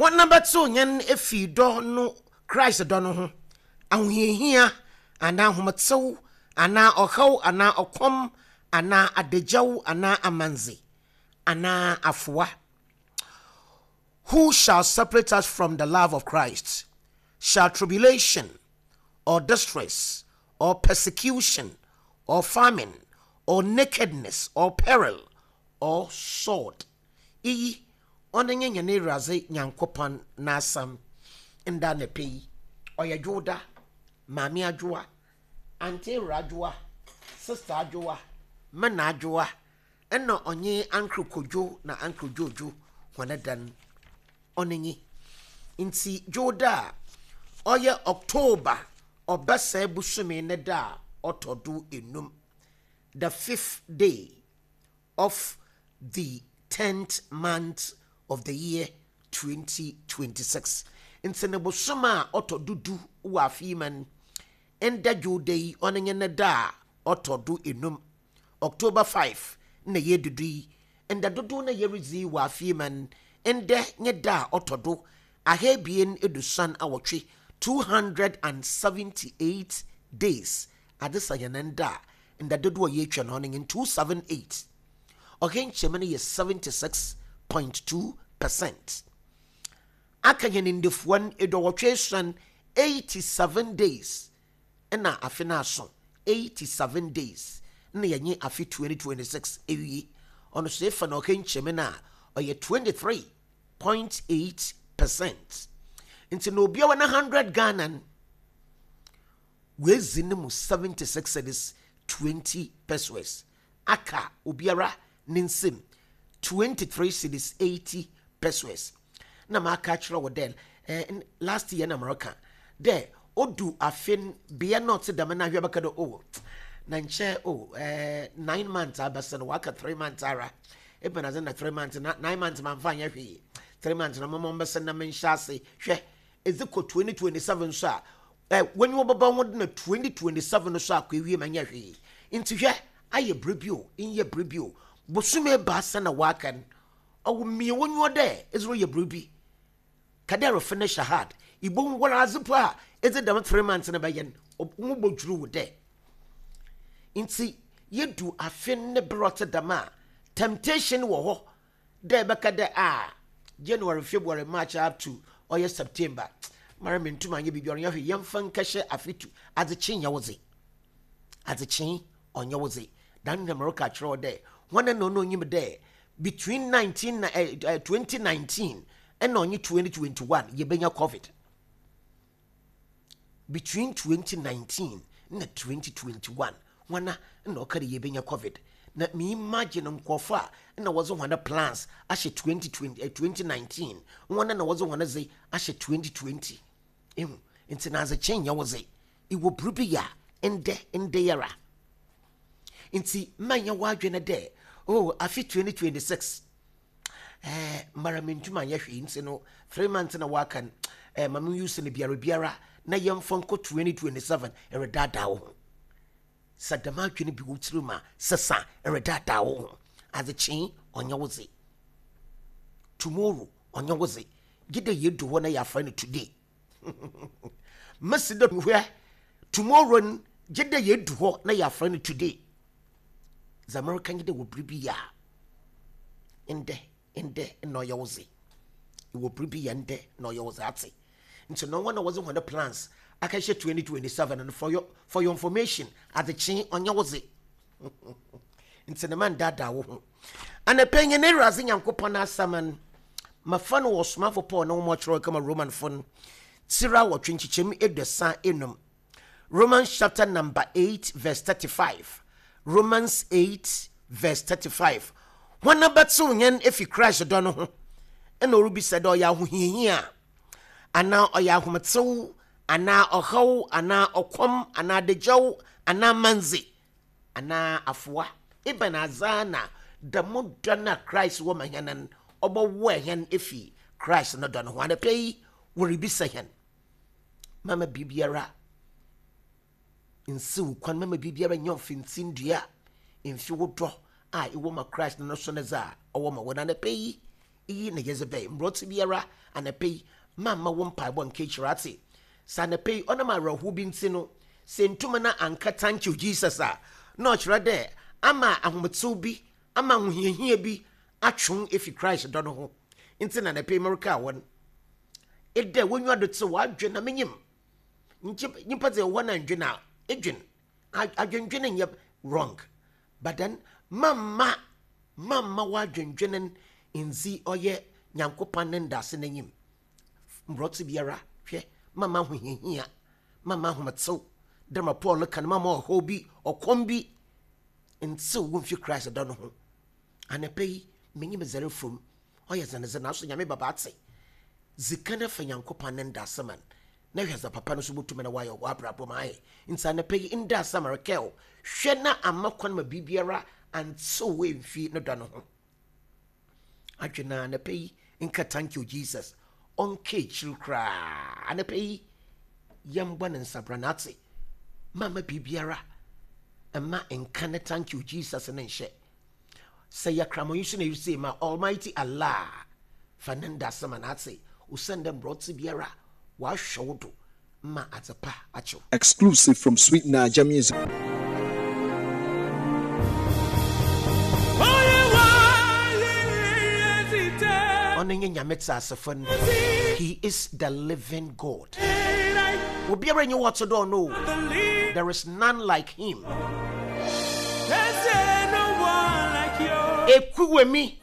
Hɔn bɛtsew hɛn efi dɔ no Christ dɔ no ho, ahohiahia anaa ahomtsew anaa ɔhaw anaa ɔkɔm anaa adagyaw anaa amandze anaa afowa. Who shall separate us from the love of Christ? Shall tribulation or distress or persecution or famine or nakedness or peril or sword? Iyi ɔno nye hɛn Ewuradze Nyankopɔn n'asɛm ndɛ anapa yi. Ɔyɛ Dwowda, Maame Adwoa, Aunty Ewura Adwoa, Sister Adwoa, Mena Adwoa, nna ɔnye Uncle Kojo na Uncle Jojo hɔn dan. Ɔno nye. Ntsi Dwowda a ɔyɛ October Ɔbɛsɛɛ bosome ne da a ɔtɔ do enum, the fifth day of the tenth month of the year 2026. Ntsi no bosoom a ɔtɔ do du wɔ afe yi mu no, ndɛ Dwowda yi ɔno nye ne da a ɔtɔ do enum. October 5 na yeedu do yi, nda dodow na yeridzi wɔ afe yi mu no, ndɛ nye da a ɔtɔ do ahaebien eduosuon awɔtwe, 278 days, adze sa hɛn nda a, nda dodow a yeetwa no ɔno nye 278. Ɔha nkyɛmu no yɛ 76.2%. Aka hɛn ndafua no eduowɔtwe esuon, 87 days, na afe no aso, 87 days na yɛnye afe 2026 ewie. Ɔno so efa no ɔha nkyɛmu no a, ɔyɛ 23.8%. Ntsi na obi a ɔwɔ ne 100 Ghana no, oedzi no mu 76 cedis 20 pesewas. Aka obiara ne nsamu 23 cedis 80 pesewas. Na maka akyerɛ wo dɛ, eh, last year na mereka dɛ odu afe no bea na ɔtse dɛm na ahwɛ bɛka dɛ oh, na nkyɛ oh, eh, 9 months abɛsen, waka 3 months ara. Ebɛnadze na 3 months na 9 months mamfa anyɛ hwee, 3 months na moma mbɛsen na menhyɛ ase hwɛ edze kɔ 2027 so a, eh, w'enyiwa bɛba ho na 2027 so akɔ ewie ma nyɛ hwee. Nti hwɛ, ayɛ bere bi o, nyɛ bere bi o, bosome 3 na waka no, ɔwɔ mmea w'enyiwa dɛ edze reyɛ biribi ka dɛ refinish hard. Ibohu wɔn adze po a edze dɛm 3 months no bɛyɛ no ho bɔdwuru wo dɛ. Nti yɛdu afe ne berɛ ɔte dɛm a, temptation wɔ hɔ dɛ ɛbɛka dɛ a January, February, March up to ɔyɛ September mara mentum anyɛ biribi, ɔnyɛ hwee, yɛmfa nkɛhyɛ afe tu. Adzekyee nyɛ wo dze, adzekyee ɔnyɛ wo dze. Dan na mereka kyerɛ wo dɛ wɔn na ɔno onyim dɛ between 19 na 2019 ɛna ɔnye 2021 yɛbɛnya COVID. Between 2019 na 2021, wɔna na ɔka dɛ yɛbɛnya COVID. Na me imagine nkurɔfo a na wɔdze wɔn plans ahyɛ 2020, 2019, wɔn na wɔdze wɔn dze ahyɛ 2020 ehu. Nti na adzekyee nyɛ wo dze, iwɔ biribi yɛ a ndɛ ndɛ yɛra. Nti manyɛ w'adwene dɛ oh, afe 2026 mara mentum anyɛ hwee, nti no 3 months na waka no, ma me use no biara biara na yɛmfa nkɔ 2027. Ɛredaadaa wo ho. Sɛ dɛm adwene bi wo tirim a, sesa. Ɛredaadaa wo ho. Adzekyee ɔnyɛ wo dze, tomorrow ɔnyɛ wo dze, gye dɛ yɛdu hɔ na yɛafrɛ no today. Mesi dɛ hwɛ, tomorrow n gye dɛ yɛdu hɔ na yɛafrɛ no today. Dza mereka nye dɛ wɔ biribi yɛ a ndɛ ndɛ na ɔyɛ wo dze. Wɔ biribi yɛ ndɛ na ɔyɛ wo dze, ate? Nti no wɔn na wɔdze wɔn plans akɛhyɛ 2027 no, for your information, adzekyee ɔnyɛ wo dze. Nti ne ma ndaadaa wo ho. Anapɛ nyɛ ne Awurade Nyankopɔn asɛm no mafa no wɔ Ɔsomafo Paul na wɔn ɔkyerɛw kama Romanfo no tira 8 nkyekyɛm 35, Romans chapter number 8 verse 35. Romans 8 verse 35. Wɔn abɛtew yɛn efi Christ dɔ no ho? Ɛna ɔrebisa dɛ ɔyɛ ahohiahia anaa ɔyɛ ahometew anaa ɔhaw anaa ɔkɔm anaa adagyaw anaa mandze anaa afoa? Ebɛn adze na dɛm dɔ no a Christ wɔ ma hɛn no ɔbɔwoa hɛn efi Christ no dɔ no ho? Anapa yi wɔrebisa hɛn. Mama biribiara nsiw kwan, mama biribiara nyɛ ɔfintindua mfi wo dɔ a ɛwɔ ma Christ no so ne dza ɔwɔ ma wo. Na anapa yi Iyi na yɛdze bɛn mbrɛ ɔtse biara anapa yi, mamma wo mpaabɔ nnkã ekyir atse. Sɛ anapa yi ɔnam awerɛhow bi ntsi no, sɛ enntum na annka Thank you Jesus a, nna ɔkyerɛ dɛ ama ahomtsew bi, ama ahohiahia bi atwe wo efi Christ dɔ no ho. Ntsi na anapa yi merekaa hɔn dɛ w'enyiwa do tsew, w'adwen na minyim. Nkyɛ nyimpa dze ewɔ hɔ na nndwen a, edwen. Adwendwen nnyɛ wrong but then mamma mamma w'adwendwen nndzi ɔyɛ Nyankopɔn ne ndaase n'enyim. Mbrɛ ɔtse biara, hwɛ, mamma ahohiahia, mamma ahometsew, dɛ ma Paul reka no, mamma ɔhaw bi, ɔkɔm bi nntsew wo mmfi Christ dɔ no ho. Anapa yi, minyim dza erefa mu, ɔyɛ dzen dze, naaso Nyame bɛba atse. Dzi kan fa Nyankopɔn ne ndaase ma no, na hwɛ dza papa no so botum na ɔayɛ wɔ w'abrabɔ mu ae. Ntsi anapa yi, ndɛ asɛm rekɛw, hwɛ na amma kwan ma biribiara anntsew wo emmfi no dɔ no ho. Adwen a anapa yi nka thank you Jesus, ɔnka ekyir koraa. Anapa yi, yɛmbɔ no nsabran atse, mamma biribiara mma nka ne thank you Jesus no nnhyɛ. Sɛ yɛ kramanyi so na eritsie ma Almighty Allah fa ne ndase ma no atse, osiandɛ mbrɛ ɔtse biara ɔahwɛ wo do ma adze pa akye wo. Exclusive from Sweet Naija Music. Ɔno nye Nyame tseasefo no, He is the living God. Obiara nnyi hɔ ɔtse dɛ ɔno o, there is none like Him. Ekuwemi.